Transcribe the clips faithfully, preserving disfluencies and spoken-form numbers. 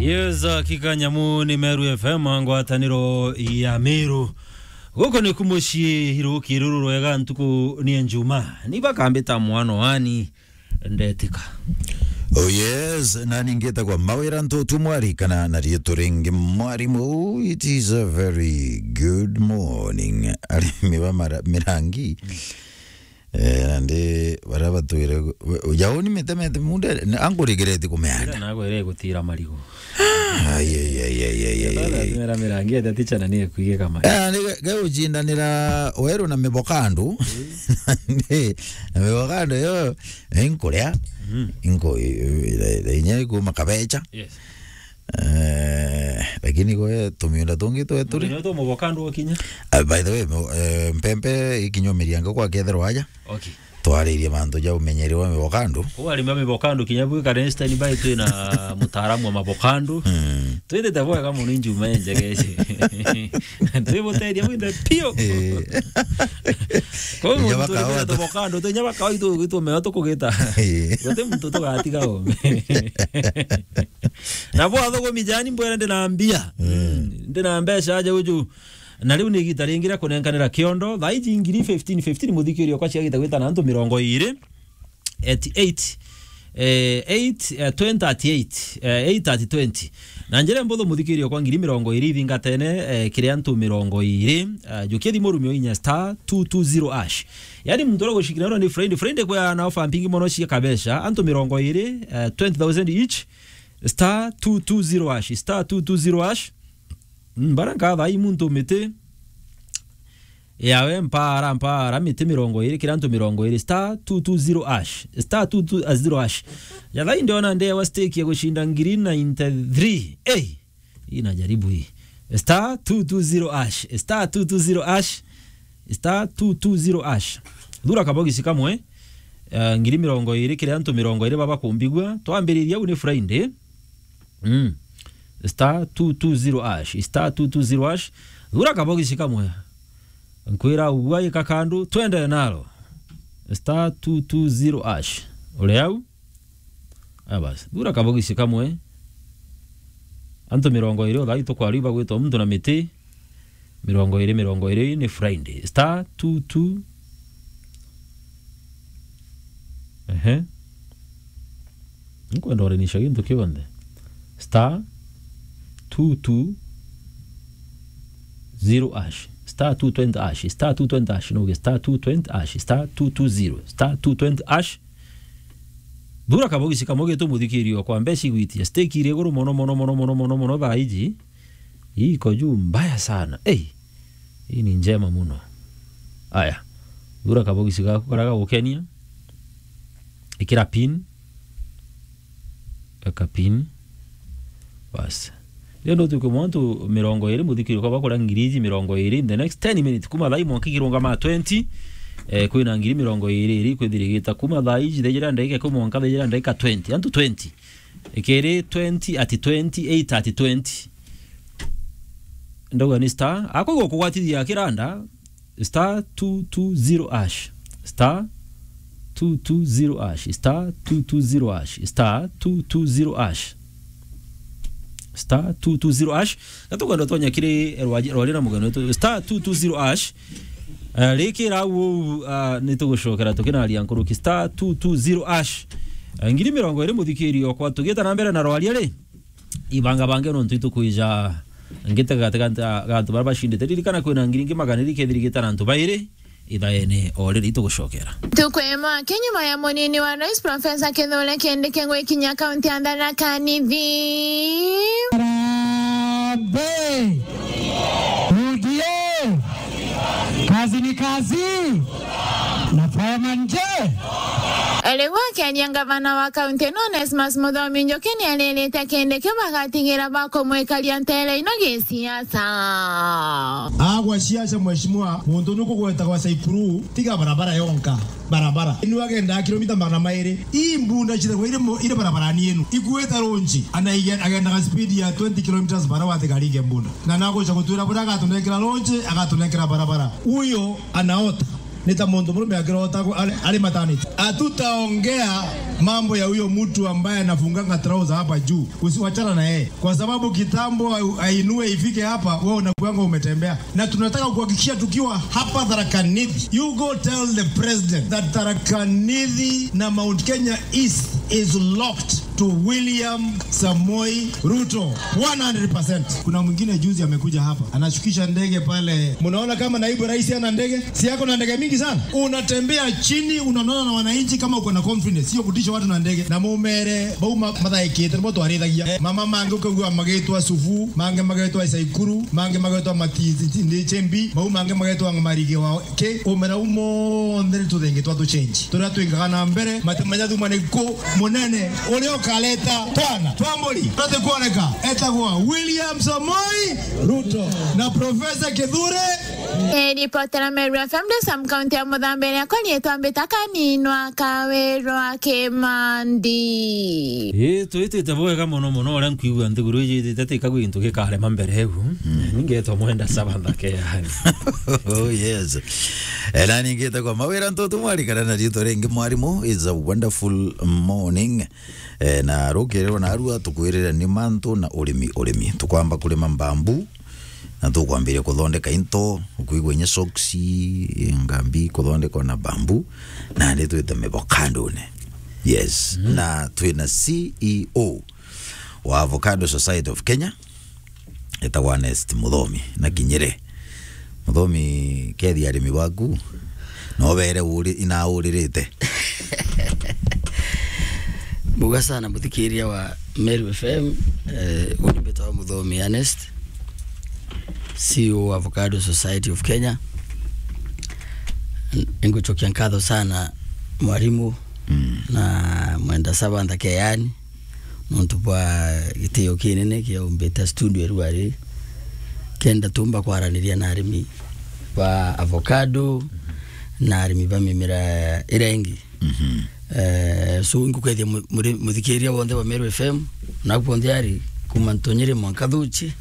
Yes, hakika nyamu ni Meru F M, ngwataniro ya Meru. Guku ni ku mucii, iruki ruru rwega, ntuku ni ya Njuma. Ni bakambita mwana wani, ndetika. Oh yes, nani ngitagwa Mawira Ntutu Mwari, kana na riitwa ringi Mwarimu. It is a very good morning. Arimi ba mara-, mirangi. Eh, nandi baria batwire, we, jauni mitemete munde, na angurigereti kumeanda. Ira nagwere gutira marigo. Ai, ai, ai, ai, ai, ai, ai, ai. Mera mirangi ya ticha na niye kuige kama. Eh, ni ge-, ge ucindanira weru na mibokandu. Nandi, na mibokandu yo, inkuria. Mhm. Inko, i-, i-, i-, inya ikuma kabecha. Yes. Eh, lakini gwe tumiunda tungi twe turi. Ndio tu mubokandu okinya. Ah, by the way, mo-, eh, mpempe ikinya umirianga kwa kethirwa aja. Okay. Twaririe mantu ja umenyeri wa mibokandu. Kwa arimi a mibokandu kinya bwi kare standby, twi na mutaaramu wa mabokandu. Mm. Twithite bwega muno injuma enjegece. Twibuteria bwinthe pio. Eh. Kwa hiyo inya muntu turi bakawa bwira tu- tubokandu, tu inya bakawa itu, itu meo tukugita. Eh. Guti muntu tugatiga ome. Na bwa thugumi jani mbwira ndi na mbia. Mm. Mm. Ndi na mbeca aja uju. Na riu ni igita ringi ria kunenkanira kiondo. Thaa iji ngiri fifteen fifteen, muthikiri okwa ciagita gwita na antu mirongo iri, eighty-eight, eh, eight, eh, twenty thirty-eight, eh, eight thirty twenty. Na njira mbuthu, muthikiri okwa, ngiri mirongo iri ithingatene, eh, kiri antu mirongo iri, eh, jukia thimu rumio inya star two two zero hash. Yani muntu uria gucikira ni Friday, Friday kwa na ofa mpingi mono cia kabeca, antu mirongo iri, eh, twenty thousand each, star two two zero hash, star two two zero hash. Mm, bara nkatha ai muntu miti yawe mpara, mpara, miti mirongo iri, kira antu mirongo iri, star two two zero hash, star two two zero hash. Jathai ndiona ndewa stake ya gushinda ngiri ninety three. Ei, hii najaribu hii. Star two two zero hash, star two two zero hash, star two two zero hash. Thura kabogisi kamwe, eh, ngiri mirongo iri, kira antu mirongo iri baba kumbigua. Twambiriria au ni Friday. Mm. Star two two zero hash, star two two zero hash. Thura kabogisi kamwe. Nkwira ugua ika kandu, twende nalo. Star two two zero hash. Uri au? Aya basi. Thura kabogisi kamwe. Antu mirongo iri, uthai tukwari bagwitwa muntu na miti. Mirongo iri, mirongo iri ni Friday. Star two two. Ehe. Nkwenda urinisha gintu kionthe. Star two two zero hash. Star two twenty hash. Star two twenty hash. No, star two twenty hash. Star two two zero. Star two twenty hash. Thura kabogisi kamwe gitu, muthikiri okwa, mbeca igwitia. Stake iri iguru mono, mono, mono, mono, mono, mono, thaa iji. Hii iko juu mbaya sana. Ei, hii ni njema muno. Aya, thura kabogisi gaku karia gagukenia. Ikira pin. Eka pin. Bas. Riu ndutuke mwantu mirongo iri, muthikiri kwa bakora ngiri iji mirongo iri in the next ten minutes. Kuma thaa ii mwanka ikirungama twenty, eh, kwina ngiri mirongo iri iri kwithirigita. Kuma thaa iji thejera ndagika ikumi mwanka thejera ndagika twenty. Antu twenty. Ikiri twenty at twenty, eight at twenty. Ndauga ni star. Akwigua kugwatithia kiranda, star two two zero hash. Star two two zero hash. Star two two zero hash. Star two two zero hash. Star two two zero hash. Na tukwenda twanya kiri rwaji-, rwari na mugeni wetu. Star two two zero hash. Eh, rikira uu, ah, ni tugucokera tukinaria nkuruki. Star two two zero hash. Eh, ngiri mirongo iri muthikiri okwa, tugita na mbere na rwaria ri. Ibanga bange nontu itukwija ngite gati gati gantu bara bacindite. Ririkana kwina ngiri ingi magana iri kethirigita na antu bairi ithaene o riri itugucokera. Ntuku imwe aki nyuma ya munini wa rais Professor Kithure Kindiki gwikinya kaunti ya Tharaka Nithi. Harambee! U D A! Kazi ni kazi! Na fireman je? Riu akiaria, ngavana wa kaunti ino Onesmus Muthomi Njuki niaririte Kindiki bagatigira bakumwikaria ntere ino gisiasa. Agwa siasa, mheshimiwa, muntu nukugwetagwa Saikuru, tiga barabara yonka. Barabara. Inu agendaa kilomita magana mairi. Ii mbunda cithagwa iri mu-, iri barabarani inu. Ikuite runji. Ana ige-, agendaga speed ya twenty kilometers per hour atiga arige mbunda. Na naguca gutwira buria agatunenkera runji, agatunenkera barabara. Uyo anaota. Ni ta muntu murume akirota ku-, ari, ari maternity. Hatutaongea mambo ya huyo mtu ambaye anafunganga trouser hapa juu. Usiwachana na yeye. Kwa sababu kitambo a-, ainue ifike hapa, wewe unakuanga umetembea. Na tunataka kuhakikishia tukiwa hapa Tharaka Nithi, you go tell the president that Tharaka Nithi na Mount Kenya East is locked to William Samoei Ruto one hundred percent. Kuna mwingine juzi amekuja hapa, anashukisha ndege pale. Mnaona kama naibu rais ana ndege? Si ako na ndege mingi sana? Unatembea chini, unaonana na wananchi kama uko na confidence, sio kutisha watu na ndege. Na mumere, bau ma-, mathaikite, nibo twarithagia. Eh, mama mangi ukagua magitwa Sufu, mangi magitwa Isaikuru, mangi magitwa Mati-, Ndi Chembi, bau mangi magitwa Marige wa Ki, umera u monthe ni tuthingi twa tuchenji. Turia twingaga na mbere, mati manya thuma ni ku munene uria ukareta twana twa mburi turia tukwoneka, etagwa William Samoei Ruto na Professor Kithure. Eh, ripotera Meru F M ndi Sam County ya Muthambe, riakwa riitwa Mbita Kaninwa Kawirwa Kimandi. Ii, twitite bwega mono mono, uria nkwigua nthiguru iji itite tika gwintu gikarema mbere eu. Mm. Ningetwa mwenda saba nthake yani. Oh, yes. Eh, na ningite kwa mawira ntutu mwarikana na riitwa ringi mwarimu. It's a wonderful morning. Eh, na rukirirwa na arua tukwirira ni mantu na urimi, urimi. Tukwamba kurima mbambu, na tukwambiria kuthondeka into, ukwigua inya soksi, ngambi kuthondekwa na bambu, na ni twite mivokandone. Yes. Mm. Na twina C E O wa Avocado Society of Kenya, etagwa Ernest Muthomi na Kinyere. Muthomi, kethi arimi baku, no beere uri-, inauririte. Mbuga sana muthikiria wa Meru F M, eh, uni mbitwa Muthomi Ernest, C E O wa Avocado Society of Kenya. N-, ngucokia nkatho sana mwarimu Mm. na mwenda saba nthake yani, nontu bwa gitio kinene kia umbita studio ruari, kenda tumba kwaraniria na arimi ba avocado na arimi ba mimera iria ingi. Mhm. Eh, so, ingukethia mu-, muri-, muthikiria wonthe wa Meru F M, na kuonthe ari kuma Ntonyere mwanka Thuchi,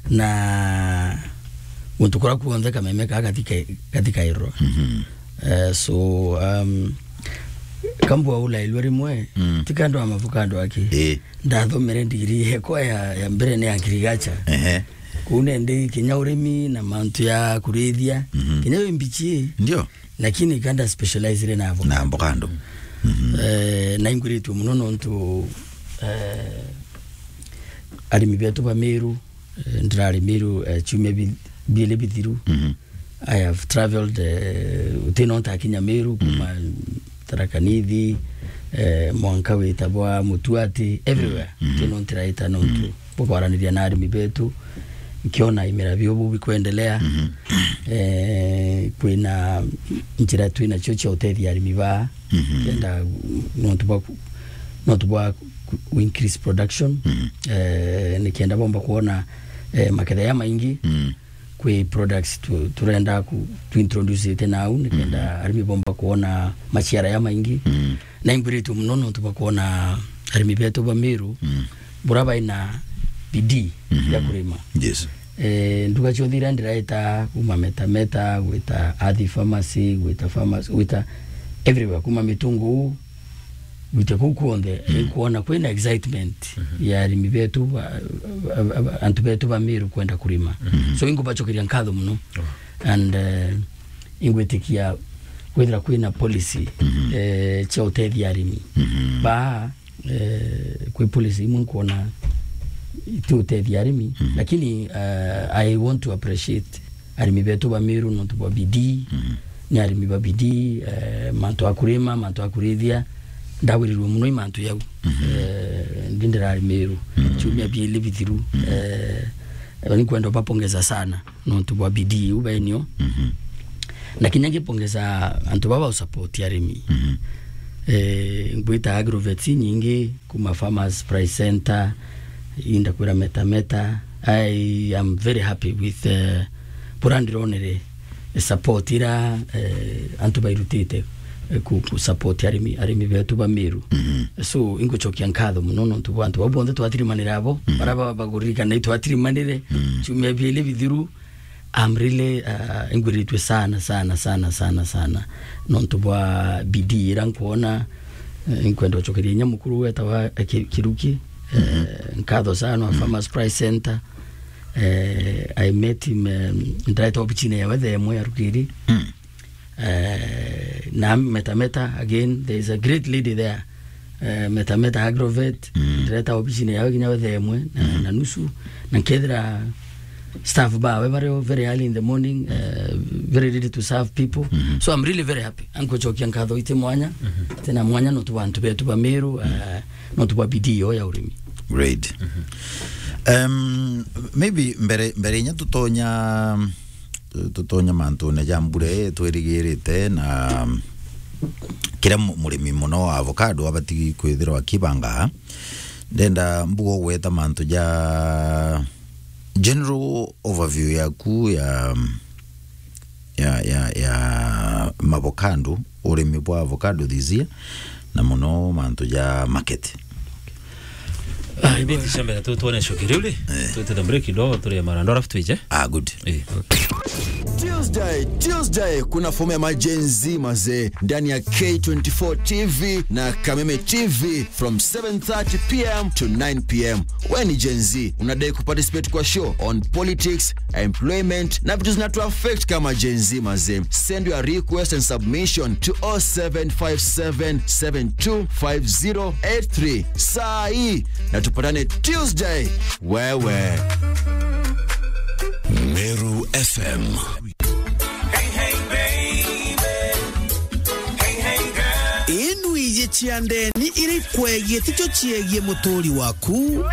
na guntu kuria kuonthe kameme kaa gathika-, gathikairwa. Mhm. Eh, so, um, kambua ulailwe rimwe, Mm. ti kando ya mavuka andu aki. Ii. Ndathomere ndigiri yekwa ya, ya mbere ni agriculture. Ehe. Kuu nendi kinya urimi na mantu ya kurithia. Mhm. Kinya wi mbichi. Ndio. Lakini kanda specialize na avocado. Na avocado. Mhm. Eh, na ingwiritue muno nontu, eh, arimi betu ba Meru, eh, ndirari Meru, eh, ciumia bi-, biili bithiru. Mhm. I have travelled, eh, uti no ntakinya Meru, kuma Tharaka Nithi, eh, mwanka wita bwa Mutuati, everywhere. Mhm. Uti no ntiraita nontu bwa kwaraniria na arimi betu, nkiona imera bio bu bikwendelea. Mhm. Eh, kwina njira twinacio cia utethia arimi baa, Mhm. kenda nontu bwa ku-, nontu bwa ku-, ku increase production. Mhm. Eh, nikenda bomba kuona, eh, maketha ya maingi. Mhm. Kwi products tu-, turenda ku-, tu introduce ite nau, nikenda Mm. arimi bomba kuona maciara ya maingi. Mm. Na ingwiritue muno nontu bwa kuona arimi betu ba Meru, Mm. bura baina bidii Mhm. ya kurima. Yes. Eh, nduka cionthe iria ndiraita, kuma Meta Meta, gwita Athi Pharmacy, gwita pharmacy, gwita everywhere, kuma Mitunguu, gwita kuu kuonthe, Mhm. inkuona kwina excitement Mhm. ya arimi betu ba, ba, ba, ba, antu betu ba Meru kwenda kurima. Mhm. So, inkubacokeria nkatho muno. Oh. And, eh, ingwitikia kwithira kwina policy, Mhm. eh, cia utethia arimi. Mhm. Baa, eh, kwi policy imwe nkuona itiutethia arimi, Mhm. lakini, eh, I want to appreciate arimi betu ba Meru nontu bwa bidii, Mhm. ni arimi ba bidii, eh, mantu a kurima, mantu a kurithia, ndagwirirwe muno i mantu yau. Mhm. Eh, ndi ndirari Meru, Mhm. ciumia biili bithiru, Mhm. eh, ni kwenda bapongeza sana nontu bwa bidii iu baenio. Mhm. Na kinya ngipongeza antu baba usupport arimi. Mhm. Eh, ngwita agrovets nyingi, kuma Farmers Price Center, inda kwira Meta Meta. I am very happy with, eh, bura ndironere support ira, eh, antu bairutite, eh, ku, ku support arimi, arimi betu ba Meru. Mhm. So, ingucokia nkatho muno nontu bwa antu bau bonthe twatirimanire abo, Mhm. bara ba, baguririkana itwatirimanire, Mhm. ciumia biili bithiru, I'm really, uh, ingwiritue sana, sana, sana, sana, sana. Nontu bwa bidii ira nkwona, eh, nkwenda ucokeria inya mukuru wetawa, eh, Ki-, Kiruki, eh, nkatho sana, wa Farmers Price Center. Eh, I met him, eh, ndireta obichine yawe thaa imwe ya rukiri. Eh, na Meta Meta, again, there is a great lady there. Eh, Meta Meta Agrovet, ndireta obichine yawe kinya we thaa imwe na, na nusu, na nkethira staff bawe bari o very early in the morning, eh, very ready to serve people. So I'm really very happy. Ankucokia nkatho iti mwanya, tena mwanya nontu bwa antu betu ba Meru, eh, nontu bwa bidii yo ya urimi. Great. Um, maybe mbere, mbere inya tutonya, tutonya mantune ja mbura ii twirigirite na kiria mu-, murimi muno wa avocado abati kwithirwa akibanga, ndenda mbuga gweta mantu ja general overview yaku ya, ya, ya, ya mavocado, urimi bwa avocado this year, na muno mantu ja market. Ah, ibiti cia mbere tu tuone cuki riu ri. Eh. Twite the break kidogo, turie marando, alafu twije. Ah, good. Eh. Tuesday, Tuesday, kuna fomu ya ma Gen Z mazee ndani ya K twenty-four T V na Kameme T V from seven thirty p m to nine p m. We ni Gen Z, unadai kuparticipate kwa show on politics, employment na vitu zinatu affect kama Gen Z mazee? Send your request and submission to oh seven five seven seven two five zero eight three. Saa hii na tupatane Tuesday. Wewe. Meru F M. Inu iji cia ndeni iri kwegie ticio ciegie muturi waku.